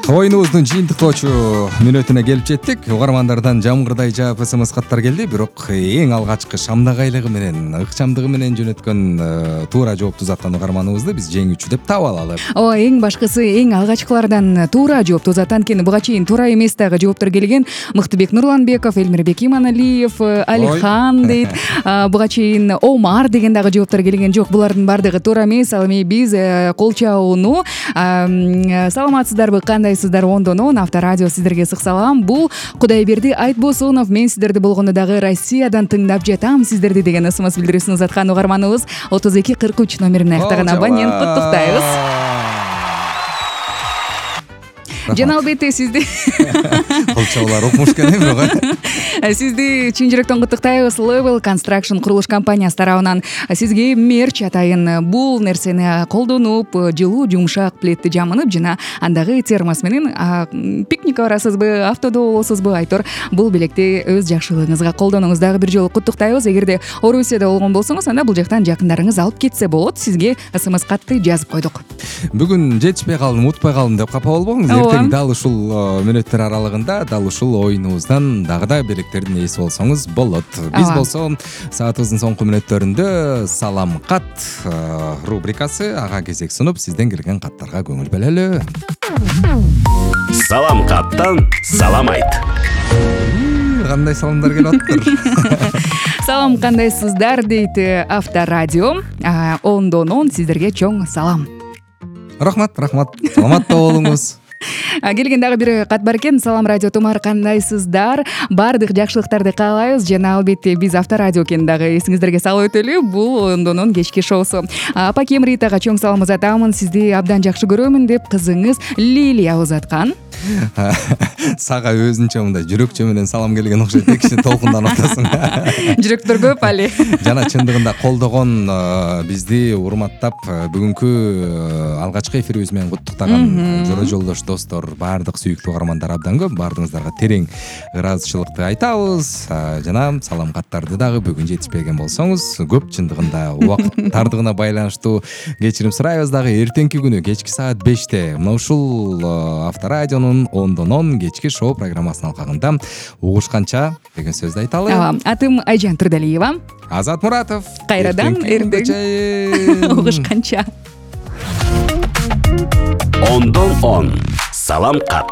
Оюнубуздун жыйынтыктоочу мүнөтүнө келип жеттик. Угармандардан жамгырдай жаап СМС каттар келди, бирок эң алгачкы шамдагайлыгы менен, ыкчамдыгы менен жөнөткөн туура жоопту узаткан угарманыбызды биз жеңүүчү деп таап алалы. Ооба, эң башкысы эң алгачкылардан туура жоопту узат. Анткени буга чейин туура эмес дагы жооптор келген. Мыктыбек Нурланбеков, Элмирбек Иманалиев, Алихан дейт. Буга чейин Омар деген дагы жооптор келген. Жок, булардын баардыгы туура эмес. Ал эми биз кол чабууну саламатсыздарбы, кандайсыздар, ондон Авторадио сиздерге ысык салам. Бул Кудайберди Айтбосунов, мен сиздерди болгондо дагы Россиядан тыңдап жатам сиздерди деген СМС билдирүүсүн узаткан угарманыбыз 3243 номерин аяктаган абонент, куттуктайбыз. Жана албетте сизди кол чабуулар окумуш экен бирок сизди чын жүрөктөн куттуктайбыз. Level Construction курулуш компаниясы тарабынан сизге мерч атайын бул нерсени колдонуп, жылуу жумшак пледти жамынып, жана андагы термос менен пикникке барасызбы, автодо болосузбу, айтор бул белекти өз жакшылыгыңызга колдонуңуз. Дагы бир жолу куттуктайбыз. Эгерде Орусияда болгон болсоңуз, анда бул жактан жакындарыңыз алып кетсе болот. Сизге СМС катты жазып койдук. Бүгүн жетишпей калдым, утпай калдым деп капа болбоңуз. Дал ушул мүнөттөр аралыгында дал ушул оюнубуздан дагы да белектердин ээси болсоңуз болот. Биз болсо саатыбыздын соңку мүнөттөрүндө салам кат рубрикасы ага кезек сунуп, сизден келген каттарга көңүл бөлөлү. Салам каттан салам айт. Кандай саламдар келип атыптыр? Салам, кандайсыздар дейт Авторадио. Ондон сиздерге чоң салам. Рахмат. Саламатта болуңуз. Келген дагы бир кат бар экен. Салам радио тумар, кандайсыздар? Баардык жакшылыктарды каалайбыз. Жана албетте биз Авторадио экенин дагы эсиңиздерге салып өтөлү. Бул ондонун кечки шоусу. Апакем Ритага чоң салам узатамын. Сизди абдан жакшы көрөмүн деп кызыңыз Лилия узаткан. Сага өзүнчө мындай жүрөкчө менен салам келген окшойт, киши толкундан атасың. Жүрөктөр көп али. Жана чындыгында колдогон, бизди урматтап, бүгүнкү алгачкы эфирибиз менен куттуктаган жора жолдош достор, баардык сүйүктүү угармандар абдан көп. Баардыгыңыздарга терең ыраазычылыкты айтабыз. Жана салам каттарды дагы бүгүн жетишпеген болсоңуз, көп чындыгында убакыт тардыгына байланыштуу кечирим сурайбыз дагы. Эртеңки күнү кечки саат 5-те мына ушул Авторадионун ондон кечки шоу программасынын алкагында угушканча деген сөздү айталы. Атым Айжан Турдалиева. Азат Муратов. Кайрадан эртең угушканча. Ондон салам кат.